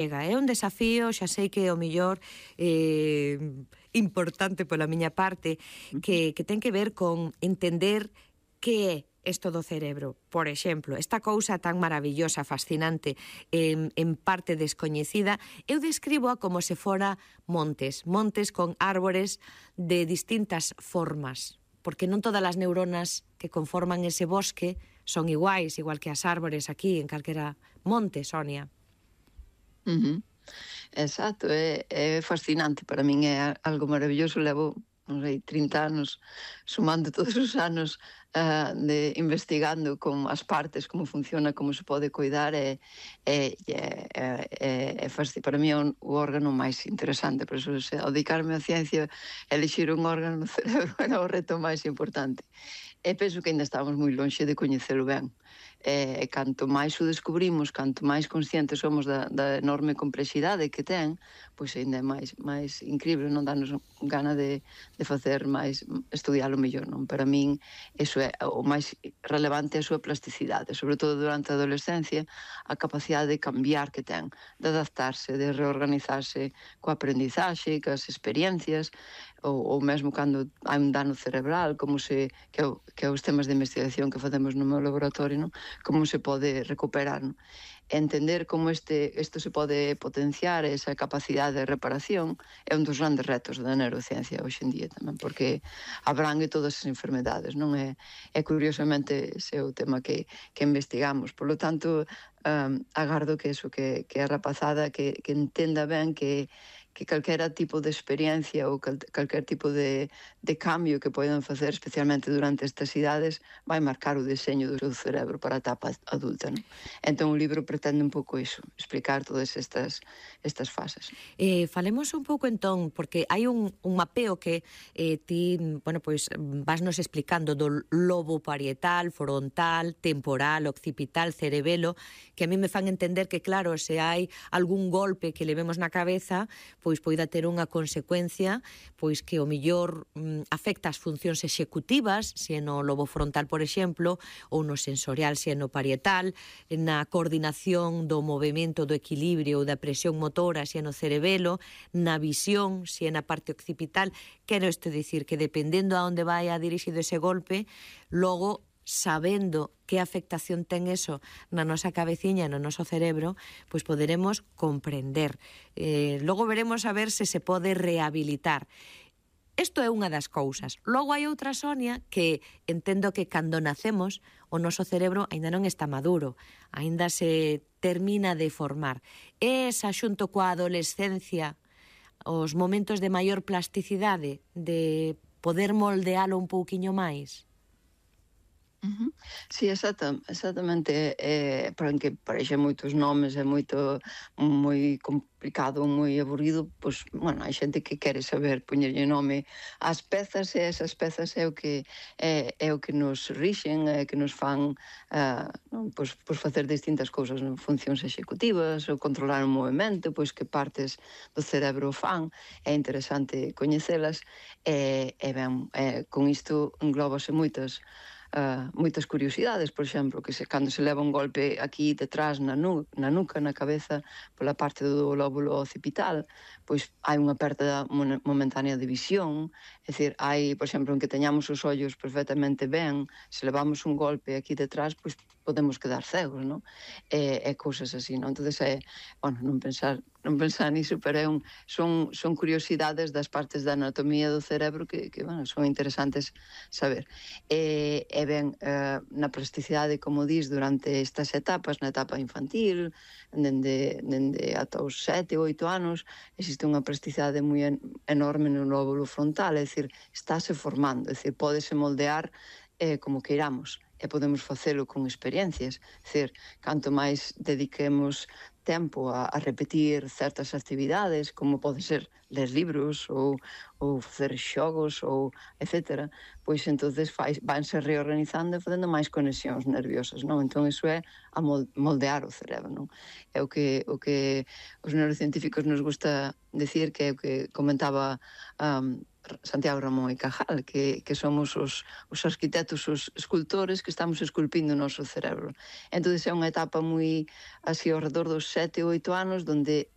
É un desafío, xa sei que o millor importante pola miña parte, que ten que ver con entender que é isto do cerebro. Por exemplo, esta cousa tan maravillosa, fascinante, en parte descoñecida, eu describo como se fora montes con árbores de distintas formas, porque non todas as neuronas que conforman ese bosque son iguais, igual que as árbores aquí en calquera monte, Sonia. Exacto, é fascinante, para min é algo maravilloso, levo, non sei, 30 anos sumando todos os anos de investigando con as partes, como funciona, como se pode coidar, para mí é o órgano máis interesante, por iso, ao dedicarme á ciencia, elixir un órgano no cerebro era o reto máis importante. E penso que ainda estamos moi lonxe de coñecelo ben. E canto máis o descubrimos, canto máis conscientes somos da enorme complexidade que ten, pois ainda é máis incrível, non danos gana de facer máis, estudialo mellor, non? Para min, iso é o máis relevante, a súa plasticidade, sobre todo durante a adolescencia, a capacidade de cambiar que ten, de adaptarse, de reorganizarse coa aprendizaxe, coas experiencias, ou mesmo cando hai un dano cerebral, que é os temas de investigación que facemos no meu laboratorio, non? Como se pode recuperar, non? Entender como isto se pode potenciar, esa capacidade de reparación, é un dos grandes retos da neurociencia hoxe en día tamén, porque abrangue todas as enfermedades, non? É curiosamente ese é o tema que investigamos. Por lo tanto, agardo que a rapazada que entenda ben que calquera tipo de experiencia ou calquer tipo de cambio que poden facer, especialmente durante estas idades, vai marcar o deseño do seu cerebro para a etapa adulta, non? Entón o libro pretende un pouco iso, explicar todas estas fases. Falemos un pouco entón, porque hai un mapeo que ti, bueno, pois vasnos explicando do lobo parietal, frontal, temporal, occipital, cerebelo, que a mí me fan entender que, claro, se hai algún golpe que levemos na cabeza, pois poida ter unha consecuencia pois que o millor afecta as funcións executivas, se é no lobo frontal, por exemplo, ou no sensorial, se é no parietal, na coordinación do movimento, do equilibrio ou da presión motora, se é no cerebelo, na visión, se é na parte occipital. Quero isto dicir que dependendo a onde vai a dirixido ese golpe, logo sabendo que afectación ten eso na nosa cabeciña, no noso cerebro, pois poderemos comprender. Logo veremos a ver se se pode rehabilitar. Isto é unha das cousas. Logo hai outra, Sonia, que entendo que cando nacemos o noso cerebro aínda non está maduro, aínda se termina de formar. Esa, xunto coa adolescencia, os momentos de maior plasticidade, de poder moldealo un pouquiño máis. Sí, exactamente, porque parece moitos nomes, é moi complicado, moi aburrido, pois, bueno, hai xente que quere saber poñerlle nome ás pezas, e esas pezas é o que nos rixen, que nos fan pois facer distintas cousas, funcións executivas, ou controlar o movimento, pois que partes do cerebro fan, é interesante coñecelas, e ben, con isto englóbase moitas curiosidades, por exemplo, que cando se leva un golpe aquí detrás na nuca, na cabeza, pola parte do lóbulo occipital, pois hai unha perda momentánea de visión, é dicir, hai, por exemplo, en que teñamos os ollos perfectamente ben, se levamos un golpe aquí detrás, pois podemos quedar cegos, non? E cousas así, non? Entón, bueno, non pensar niso, pero son curiosidades das partes da anatomía do cerebro que bueno, son interesantes saber. E ben, na plasticidade, como dis, durante estas etapas, na etapa infantil, dende ata os 7 ou 8 anos, existe unha plasticidade moi enorme no lóbulo frontal, é dicir, estáse formando, é dicir, pódese moldear como queiramos, e podemos facelo con experiencias, é dicir, canto máis dediquemos tempo a repetir certas actividades, como pode ser ler libros ou facer xogos ou etcétera, pois entonces vanse reorganizando e facendo máis conexións nerviosas, non? Entón iso é a moldear o cerebro, non? É o que os neurocientíficos nos gusta decir, que é o que comentaba Santiago Ramón e Cajal, que somos os arquitectos, os escultores que estamos esculpindo o noso cerebro. Entón, é unha etapa moi así ao redor dos 7 ou 8 anos, donde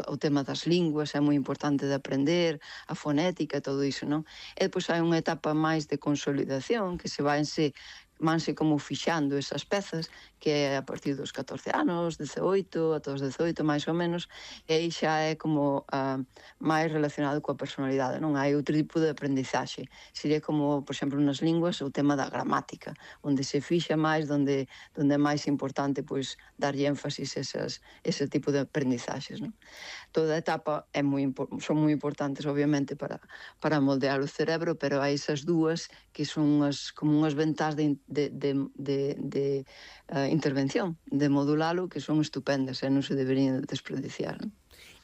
o tema das linguas é moi importante de aprender, a fonética, todo iso, non? E depois hai unha etapa máis de consolidación, que vanse como fixando esas pezas, que é a partir dos 14 anos, 18, ata os 18 máis ou menos, e aí xa é como máis relacionado coa personalidade, non? Hai outro tipo de aprendizaxe. Sería como, por exemplo, nas linguas, o tema da gramática, onde se fixa máis, onde é máis importante pois darlle énfasis ese tipo de aprendizaxes, non? Toda a etapa son moi importantes, obviamente, para moldear o cerebro, pero hai esas dúas que son como unhas ventás de intervención, de modulalo, que son estupendas e non se deberían desperdiciar, non?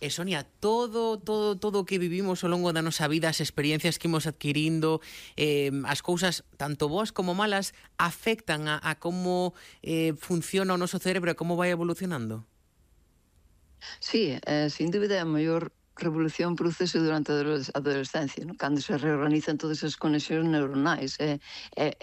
E Sonia, todo o que vivimos ao longo da nosa vida, as experiencias que imos adquirindo, as cousas, tanto boas como malas, afectan a como funciona o noso cerebro e como vai evolucionando? Sí, sin dúbida a maior revolución prodúcese durante a adolescencia, non? Cando se reorganizan todas as conexións neuronais e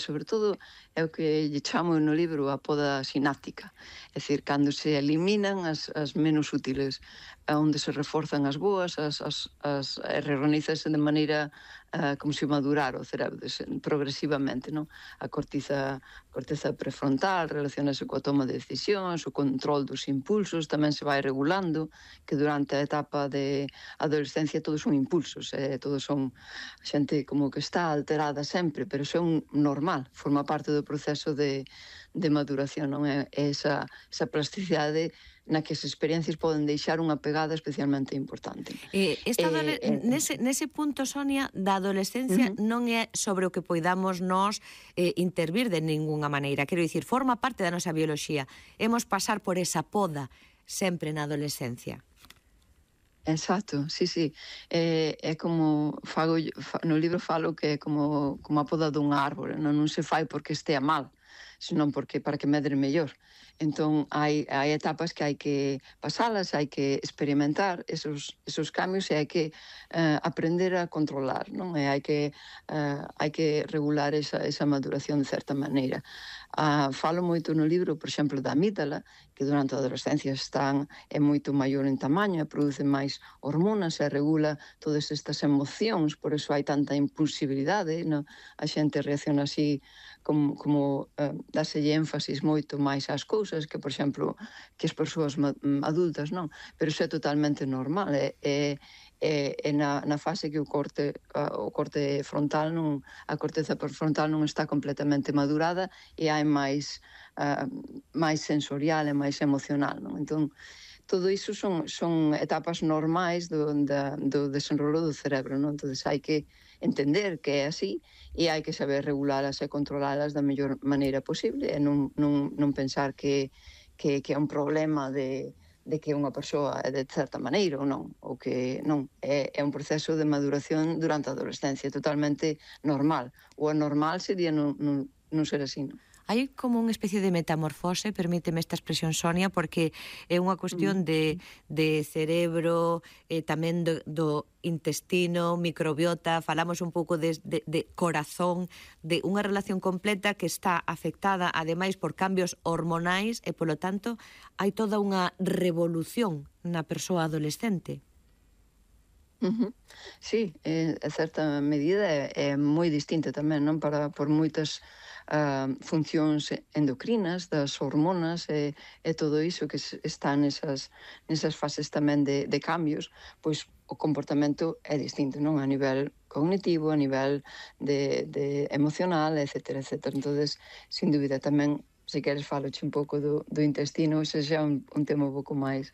sobre todo é o que lle chamo no libro a poda sináptica, é dicir, cando se eliminan as menos útiles, onde se reforzan as boas, e reorganízase de maneira como se madurar o cerebro progresivamente, non? A corteza prefrontal relacionase coa toma de decisións, o control dos impulsos tamén se vai regulando, que durante a etapa de adolescencia todos son impulsos, todos son xente como que está alterada sempre, pero iso é normal, forma parte do proceso de maduración, non? É esa plasticidade na que as experiencias poden deixar unha pegada especialmente importante. Nese punto, Sonia, da adolescencia non é sobre o que poidamos nós intervir de ningunha maneira. Quero dicir, forma parte da nosa bioloxía. Hemos pasar por esa poda sempre na adolescencia. Exacto, sí. É como no libro falo que é como a poda dun árbore, non se fai porque estea mal, senón porque para que medre mellor. Entón, hai etapas que hai que pasalas, hai que experimentar esos cambios e hai que aprender a controlar, non? E hai que regular esa maduración de certa maneira. Falo moito no libro, por exemplo, da amígdala, que durante a adolescencia é moito maior en tamaño e produce máis hormonas e regula todas estas emocións, por iso hai tanta impulsibilidade, non? A xente reacciona así como dáselle énfasis moito máis ás cousas que, por exemplo, que as persoas adultas, non? Pero iso é totalmente normal, na fase que o corte frontal a corteza prefrontal non está completamente madurada e hai máis sensorial e máis emocional, non? Entón, todo iso son etapas normais do desenrolo do cerebro, non? Entón, hai que entender que é así e hai que saber regulalas e controlalas da mellor maneira posible e non pensar que é un problema de que unha persoa é de certa maneira ou non, ou que non, é un proceso de maduración durante a adolescencia totalmente normal. O anormal sería non ser así, non? Hai como unha especie de metamorfose, permíteme esta expresión, Sonia, porque é unha cuestión de cerebro, tamén do intestino, microbiota, falamos un pouco de corazón, de unha relación completa que está afectada, ademais, por cambios hormonais e, polo tanto, hai toda unha revolución na persoa adolescente. Sí, en certa medida é moi distinta tamén, non? Por moitas funcións endocrinas, das hormonas e todo iso que está nesas fases tamén de cambios, pois o comportamento é distinto, non? A nivel cognitivo, a nivel de emocional, etcétera. Entonces, sin dúbida tamén, se queres faloche un pouco do intestino, ese xa é un tema un pouco máis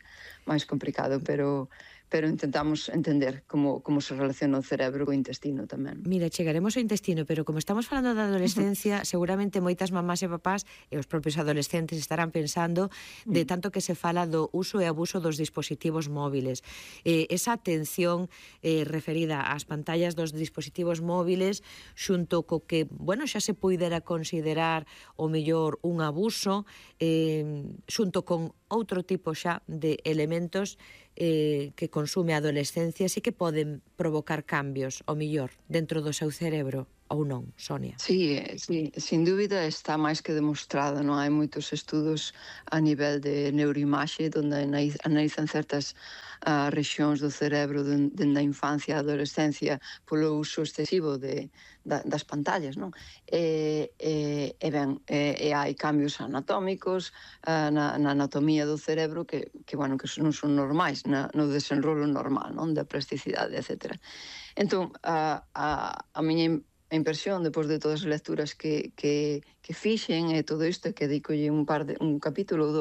complicado, pero intentamos entender como se relaciona o cerebro co intestino tamén. Mira, chegaremos ao intestino, pero como estamos falando da adolescencia, seguramente moitas mamás e papás e os propios adolescentes estarán pensando de tanto que se fala do uso e abuso dos dispositivos móviles. Esa atención referida ás pantallas dos dispositivos móviles xunto co que, bueno, xa se poidera considerar o mellor un abuso, xunto con outro tipo xa de elementos que consume a adolescencia e que poden provocar cambios, o mellor, dentro do seu cerebro, ou non, Sonia? Sí, sí, sin dúbida está máis que demostrado, non? Hai moitos estudos a nivel de neuroimaxe onde analizan certas rexións do cerebro dende a infancia e a adolescencia polo uso excesivo das pantallas, non? E hai cambios anatómicos na anatomía do cerebro que bueno, que non son normais no desenrolo normal, non? Da plasticidade, etc. Entón, a miña impresión, depois de todas as lecturas que fixen e todo isto, que dedicolle un capítulo ou